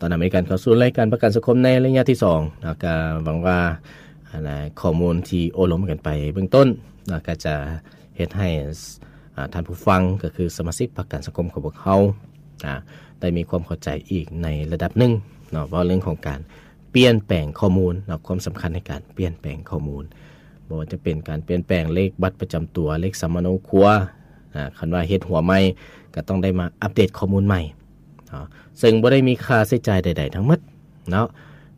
ຕ້ອນຮັບເຂົ້າສູ່ລາຍການປະກັນສັງຄົມໃນໄລຍະທີສອງເນາະ. ກໍຫວັງວ່າ ອັນນະ ຂໍ້ມູນທີ່ໂອ້ລົມກັນໄປເບື້ອງຕົ້ນເນາະ ກໍຈະເຮັດໃຫ້ ອາ ທ່ານຜູ້ຟັງ ກໍຄືສະມາຊິກປະກັນສັງຄົມຂອງພວກເຮົາ ອາ ໄດ້ມີຄວາມເຂົ້າໃຈອີກໃນລະດັບໜຶ່ງເນາະ ເວົ້າເລື່ອງຂອງການປ່ຽນແປງຂໍ້ມູນເນາະ ຄວາມສຳຄັນໃນການປ່ຽນແປງຂໍ້ມູນ ບໍ່ວ່າຈະເປັນການປ່ຽນແປງເລກບັດປະຈຳຕົວ, ເລກສຳມະໂນຄົວ ອາ ຄັນວ່າເຮັດຫົວໃໝ່ ກໍຕ້ອງໄດ້ມາອັບເດດຂໍ້ມູນໃໝ່ເນາະ ເຊິ່ງບໍ່ໄດ້ມີຄ່າໃຊ້ຈ່າຍໃດໆທັງໝົດເນາະ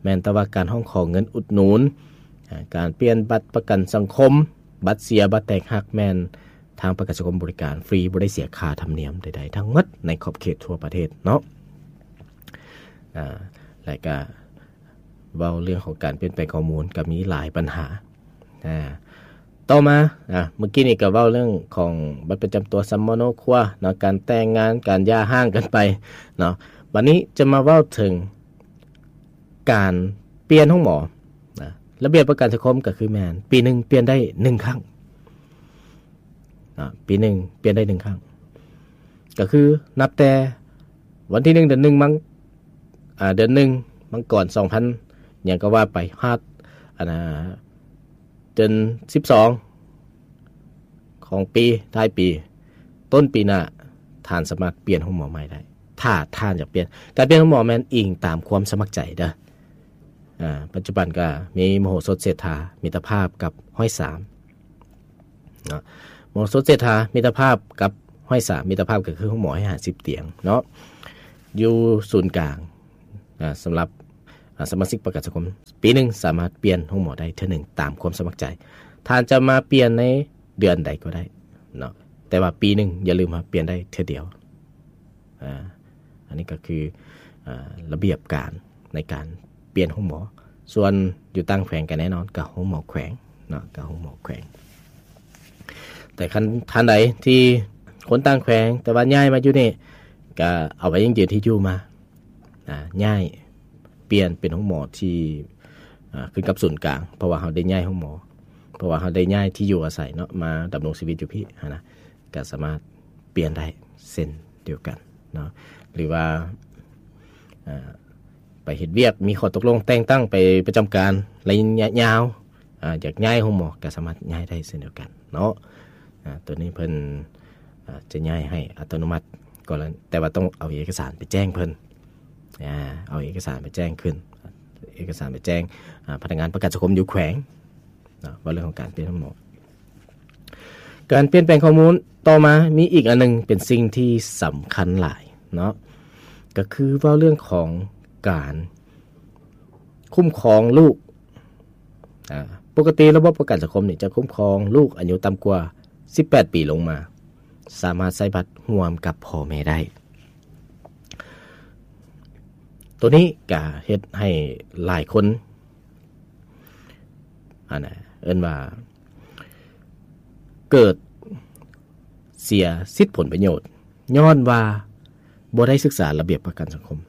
ແມ່ນແຕ່ວ່າການຮ້ອງຂໍເງິນອຸດໜູນ, ອາ ການປ່ຽນບັດປະກັນສັງຄົມ, ບັດເສຍ, ບັດແຕກຫັກ ແມ່ນທາງປະກັນສັງຄົມບໍລິການຟຣີ ບໍ່ໄດ້ເສຍຄ່າທຳນຽມໃດໆທັງໝົດໃນຂອບເຂດທົ່ວປະເທດເນາະ. ອາ ແລະກະເວົ້າເລື່ອງຂອງການປ່ຽນແປງຂໍ້ມູນ ກໍມີຫຼາຍບັນຫາ. ອາ ຕໍ່ມາ ອາ ເມື່ອກີ້ນີ້ກໍເວົ້າເລື່ອງຂອງບັດປະຈຳຕົວ, ສຳມະໂນຄົວເນາະ, ການແຕ່ງງານ, ການຢ່າຮ້າງກັນໄປເນາະ. ບັດນີ້ຈະມາເວົ້າເຖິງການປ່ຽນໂຮງໝໍນະ. ລະບຽບປະກັນສັງຄົມກໍຄືແມ່ນປີໜຶ່ງປ່ຽນໄດ້ໜຶ່ງຄັ້ງນະ, ປີໜຶ່ງປ່ຽນໄດ້ໜຶ່ງຄັ້ງ ກໍຄືນັບແຕ່ວັນທີໜຶ່ງ ເດືອນໜຶ່ງ ມັງ ອາ ເດືອນໜຶ່ງ ມັງກອນ ສອງພັນ ຫຍັງກໍວ່າໄປ ຮອດ ອັນນະ ເດືອນສິບສອງຂອງປີ ທ້າຍປີ ຕົ້ນປີໜ້າ ທ່ານສາມາດປ່ຽນໂຮງໝໍໃໝ່ໄດ້ ຖ້າທ່ານຢາກປ່ຽນ. ການປ່ຽນໂຮງໝໍແມ່ນອີງຕາມຄວາມສະໝັກໃຈເດີ. ອາ ປັດຈຸບັນກໍມີມະໂຫສົດເສດຖາ ມິດຕະພາບກັບຮ້ອຍສາມເນາະ, ມະໂຫສົດເສດຖາ ມິດຕະພາບກັບຮ້ອຍສາມ ມິດຕະພາບກໍຄືໂຮງໝໍຮ້ອຍຫ້າສິບຕຽງເນາະ ຢູ່ສູນກາງ. ອາ ສຳລັບ ອາ ສະມາຊິກປະກັນສັງຄົມ ປີໜຶ່ງສາມາດປ່ຽນໂຮງໝໍໄດ້ເທື່ອໜຶ່ງຕາມຄວາມສະໝັກໃຈ. ທ່ານຈະມາປ່ຽນໃນເດືອນໃດກໍໄດ້ເນາະ, ແຕ່ວ່າປີໜຶ່ງຢ່າລືມວ່າປ່ຽນໄດ້ເທື່ອດຽວ. ອາ ອັນນີ້ກໍຄື ອາ ລະບຽບການໃນການປ່ຽນໂຮງໝໍ. ສ່ວນຢູ່ຕ່າງແຂວງກໍແນ່ນອນ ກໍໂຮງໝໍແຂວງເນາະ, ກໍໂຮງໝໍແຂວງ. ແຕ່ຄັນທ່ານໃດທີ່ຄົນຕ່າງແຂວງ ແຕ່ວ່າຍ້າຍມາຢູ່ນີ້ ກໍເອົາໃບຢັ້ງຢືນທີ່ຢູ່ມາ ອາ ຍ້າຍ ປ່ຽນເປັນໂຮງໝໍທີ່ ອາ ຂຶ້ນກັບສູນກາງ ເພາະວ່າເຮົາໄດ້ຍ້າຍໂຮງໝໍ, ເພາະວ່າເຮົາໄດ້ຍ້າຍທີ່ຢູ່ອາໄສເນາະ ມາດຳລົງຊີວິດຢູ່ພີ້ຫັ້ນນະ, ກໍສາມາດປ່ຽນໄດ້ເຊັ່ນດຽວກັນເນາະ. ຫຼືວ່າ ອາ ໄປເຮັດວຽກ ມີຂໍ້ຕົກລົງແຕ່ງຕັ້ງໄປປະຈຳການໄລຍະຍາວ ອາ ຢາກຍ້າຍໂຮງໝໍກໍສາມາດຍ້າຍໄດ້ເຊັ່ນດຽວກັນເນາະ. ອາ ຕົວນີ້ເພິ່ນ ອາ ຈະຍ້າຍໃຫ້ອັດຕະໂນມັດ ກໍແຕ່ວ່າຕ້ອງເອົາເອກະສານໄປແຈ້ງເພິ່ນ. ອາ ເອົາເອກະສານໄປແຈ້ງຂຶ້ນ ເອກະສານໄປແຈ້ງ ອາ ພະນັກງານປະກັນສັງຄົມຢູ່ແຂວງເນາະ. ເວົ້າເລື່ອງຂອງການປ່ຽນໂຮງໝໍ ການປ່ຽນແປງຂໍ້ມູນ. ຕໍ່ມາມີອີກອັນໜຶ່ງເປັນສິ່ງທີ່ສຳຄັນຫຼາຍເນາະ, ກໍຄືເວົ້າເລື່ອງຂອງການຄຸ້ມຄອງລູກ. ອາ ປົກກະຕິລະບົບປະກັນສັງຄົມນີ້ຈະຄຸ້ມຄອງລູກອາຍຸຕ່ຳກວ່າສິບແປດປີລົງມາ ສາມາດໃຊ້ບັດຮ່ວມກັບພໍ່ແມ່ໄດ້. ໂຕນີ້ກະເຮັດໃຫ້ຫຼາຍຄົນ ອັນນະ ເອີ້ນວ່າເກີດເສຍສິດຜົນປະໂຫຍດ ຍ້ອນວ່າບໍ່ໄດ້ສຶກສາລະບຽບປະກັນສັງຄົມ.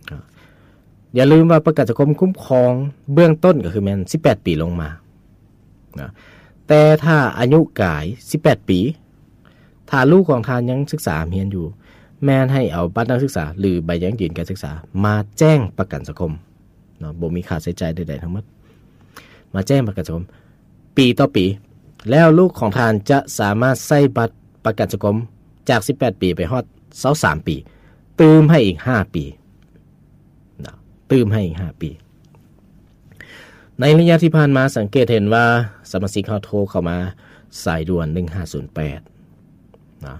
ອາ ຢ່າລືມວ່າປະກັນສັງຄົມຄຸ້ມຄອງເບື້ອງຕົ້ນກໍຄືແມ່ນສິບແປດປີລົງມານະ, ແຕ່ຖ້າອາຍຸກາຍສິບແປດປີ ຖ້າລູກຂອງທ່ານຍັງສຶກສາຮຽນຢູ່ ແມ່ນໃຫ້ເອົາບັດນັກສຶກສາ ຫຼື ໃບຢັ້ງຢືນການສຶກສາມາແຈ້ງປະກັນສັງຄົມເນາະ, ບໍ່ມີຄ່າໃຊ້ຈ່າຍໃດໆທັງໝົດ ມາແຈ້ງປະກັນສັງຄົມ ປີຕໍ່ປີ ແລ້ວລູກຂອງທ່ານຈະສາມາດໃຊ້ບັດປະກັນສັງຄົມຈາກສິບແປດປີໄປຮອດຊາວສາມປີ ຕື່ມໃຫ້ອີກຫ້າປີນະ, ຕື່ມໃຫ້ອີກຫ້າປີ. ໃນໄລຍະທີ່ຜ່ານມາສັງເກດເຫັນວ່າສະມາຊິກເຮົາໂທເຂົ້າມາສາຍດ່ວນໜຶ່ງຫ້າສູນແປດນະ,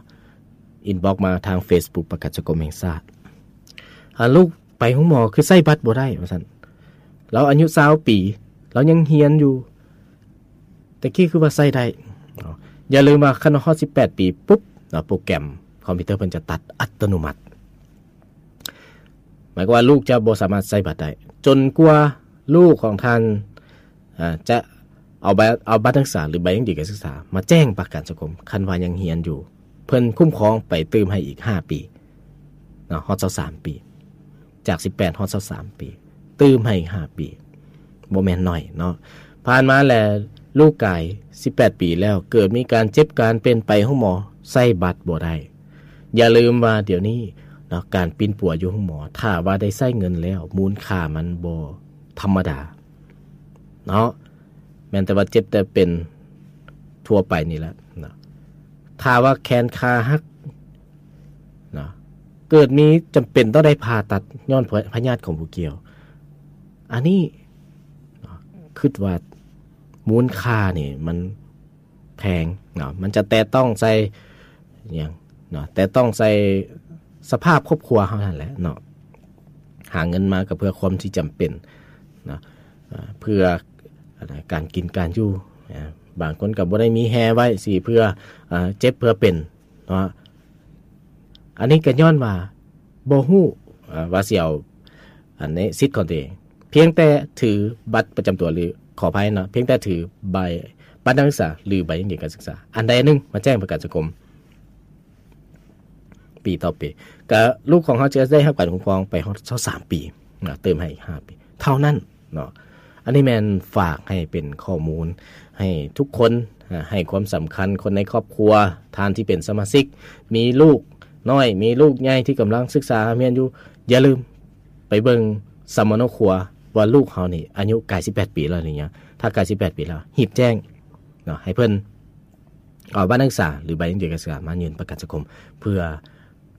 ອິນບັອກມາທາງເຟສບຸກປະກັນສັງຄົມແຫ່ງຊາດ, ຫາລູກ ໄປໂຮງໝໍຄືໃຊ້ບັດບໍ່ໄດ້ວ່າຊັ້ນ, ລາວອາຍຸຊາວປີ ລາວຍັງຮຽນຢູ່, ແຕ່ກີ້ຄືວ່າໃຊ້ໄດ້. ຢ່າລືມວ່າຄັນຮອດສິບແປດປີປຸບເນາະ ໂປຣແກຣມຄອມພິວເຕີເພິ່ນຈະຕັດອັດຕະໂນມັດ, ໝາຍຄວາມວ່າລູກຈະບໍ່ສາມາດໃຊ້ບັດໄດ້ ຈົນກວ່າລູກຂອງທ່ານ ອາ ຈະເອົາໃບ ເອົາບັດນັກສຶກສາ ຫຼື ໃບຢັ້ງຢືນການສຶກສາມາແຈ້ງປະກັນສັງຄົມ. ຄັນວ່າຍັງຮຽນຢູ່ ເພິ່ນຄຸ້ມຄອງໄປຕື່ມໃຫ້ອີກຫ້າປີເນາະ, ຮອດຊາວສາມປີ, ຈາກສິບແປດຮອດຊາວສາມປີ, ຕື່ມໃຫ້ອີກຫ້າປີ, ບໍ່ແມ່ນໜ້ອຍເນາະ. ຜ່ານມາແລ້ວ ລູກກາຍສິບແປດປີແລ້ວ ເກີດມີການເຈັບການເປັນ ໄປໂຮງໝໍ ໃຊ້ບັດບໍ່ໄດ້. ຢ່າລືມວ່າດຽວນີ້ ເນາະ ການປິ່ນປົວຢູ່ໂຮງໝໍ ຖ້າວ່າໄດ້ໃຊ້ເງິນແລ້ວ ມູນຄ່າມັນບໍ່ທຳມະດາເນາະ ແມ່ນແຕ່ວ່າເຈັບແຕ່ເປັນທົ່ວໄປນີ້ແຫຼະເນາະ ຖ້າວ່າແຂນຂາຫັກເນາະ ເກີດມີຈຳເປັນຕ້ອງໄດ້ຜ່າຕັດຍ້ອນພະຍາດຂອງບໍ່ກ່ຽວ ອັນນີ້ເນາະ ຄິດວ່າມູນຄ່ານີ້ມັນ ແພງເນາະ ມັນຈະແຕະຕ້ອງໃສ່ຫຍັງເນາະ ແຕະຕ້ອງໃສ່ສະພາບຄອບຄົວເຮົາຫັ້ນແຫຼະເນາະ ຫາເງິນມາກໍເພື່ອຄວາມທີ່ຈຳເປັນເນາະ ເພື່ອການກິນການຢູ່ ບາງຄົນກໍບໍ່ໄດ້ມີແຮ່ໄວ້ຊິເພື່ອເຈັບເພື່ອເປັນເນາະ ອັນນີ້ກໍຍ້ອນວ່າບໍ່ຮູ້ວ່າຊິເອົາ ອັນນີ້ສິດຂອງຕົວເອງ ພຽງແຕ່ຖືບັດປະຈຳຕົວ ຫຼື ຂໍອະໄພເນາະ ພຽງແຕ່ຖືໃບ ບັດນັກສຶກສາ ຫຼື ໃບຢັ້ງຢືນການສຶກສາ ອັນໃດອັນໜຶ່ງມາແຈ້ງປະກັນສັງຄົມ ປີຕໍ່ປີ ກະລູກຂອງເຮົາຈະໄດ້ຮັບການຄຸ້ມຄອງໄປຮອດຊາວສາມປີເນາະ ເຕີມໃຫ້ອີກຫ້າປີເທົ່ານັ້ນເນາະ ອັນນີ້ແມ່ນຝາກໃຫ້ເປັນຂໍ້ມູນໃຫ້ທຸກຄົນ ໃຫ້ຄວາມສຳຄັນຄົນໃນຄອບຄົວ ທ່ານທີ່ເປັນສະມາຊິກ ມີລູກນ້ອຍ ມີລູກໃຫຍ່ທີ່ກຳລັງສຶກສາຮຽນຢູ່ ຢ່າລືມ ໄປເບິ່ງສຳມະໂນຄົວວ່າລູກເຮົານີ້ອາຍຸໃກ້ສິບແປດປີແລ້ວຫຼືຍັງ ຖ້າໃກ້ສິບແປດປີແລ້ວ ຮີບແຈ້ງເນາະ ໃຫ້ເພິ່ນເອົາບັດນັກສຶກສາ ຫຼື ໃບຢັ້ງຢືນການສຶກສາມາຍື່ນປະກັນສັງຄົມ ເພື່ອ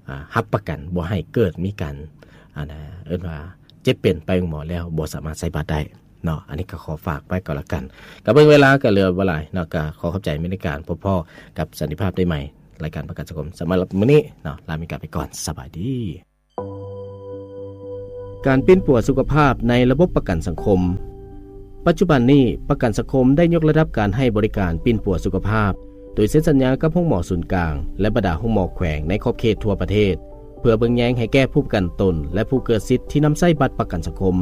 ອາ ຮັບປະກັນບໍ່ໃຫ້ເກີດມີການ ອັນ ເອີ້ນວ່າເຈັບເປັນໄປໂຮງໝໍແລ້ວບໍ່ສາມາດໃຊ້ບັດໄດ້ເນາະ ອັນນີ້ກໍຂໍຝາກໄວ້ກໍແລ້ວກັນ ກໍເບິ່ງເວລາກໍເຫຼືອບໍ່ຫຼາຍເນາະ ກໍຂໍຂອບໃຈແມ່ນໃນການພົບພໍ້ກັບສັນຕິພາບໄດ້ໃໝ່ ລາຍການປະກັນສັງຄົມ ສຳລັບມື້ນີ້ເນາະ ລາແມ່ນກາໄປກ່ອນ ສະບາຍດີ. ການປິ່ນປົວສຸຂະພາບໃນລະບົບປະກັນສັງຄົມ. ປັດຈຸບັນນີ້ ປະກັນສັງຄົມໄດ້ຍົກລະດັບການໃຫ້ບໍລິການປິ່ນປົວສຸຂະພາບ ໂດຍເຊັນສັນຍາກັບໂຮງໝໍສູນກາງ ແລະ ບັນດາໂຮງໝໍແຂວງໃນຂອບເຂດທົ່ວປະເທດ ເພື່ອເບິ່ງແຍງໃຫ້ແກ່ຜູ້ປະກັນຕົນ ແລະ ຜູ້ເກີດສິດທີ່ນຳໃຊ້ບັດປະກັນສັງຄົມ.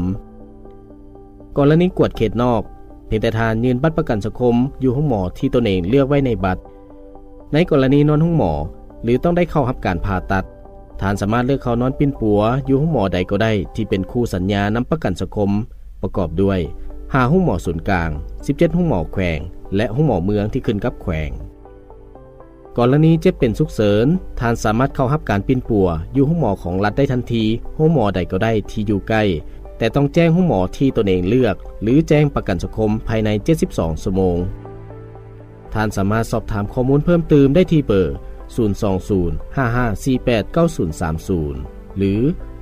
ກໍລະນີກວດເຂດນອກ, ພຽງແຕ່ທ່ານຍື່ນບັດປະກັນສັງຄົມຢູ່ໂຮງໝໍທີ່ຕົນເອງເລືອກໄວ້ໃນບັດ. ໃນກໍລະນີນອນໂຮງໝໍ ຫຼື ຕ້ອງໄດ້ເຂົ້າຮັບການຜ່າຕັດ, ທ່ານສາມາດເລືອກເຂົ້ານອນປິ່ນປົວຢູ່ໂຮງໝໍໃດກໍໄດ້ທີ່ເປັນຄູ່ສັນຍານຳປະກັນສັງຄົມ, ປະກອບດ້ວຍ ຫ້າໂຮງໝໍສູນກາງ, ສິບເຈັດໂຮງໝໍແຂວງ ແລະ ໂຮງໝໍເມືອງທີ່ຂຶ້ນກັບແຂວງ. ກໍລະນີເຈັບເປັນສຸກເສີນ, ທ່ານສາມາດເຂົ້າຮັບການປິ່ນປົວຢູ່ໂຮງໝໍຂອງລັດໄດ້ທັນທີ, ໂຮງໝໍໃດກໍໄດ້ທີ່ຢູ່ໃກ້, ແຕ່ຕ້ອງແຈ້ງໂຮງໝໍທີ່ຕົນເອງເລືອກ ຫຼື ແຈ້ງປະກັນສັງຄົມພາຍໃນເຈັດສິບສອງຊົ່ວໂມງ. ທ່ານສາມາດສອບຖາມຂໍ້ມູນເພີ່ມຕື່ມໄດ້ທີ່ເບີ ສູນສອງສູນ ຫ້າຫ້າສີ່ແປດ ເກົ້າສູນສາມສູນ ຫຼື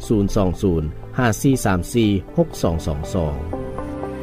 ສູນສອງສູນ ຫ້າສີ່ສາມສີ່ ຫົກສອງສອງສອງ.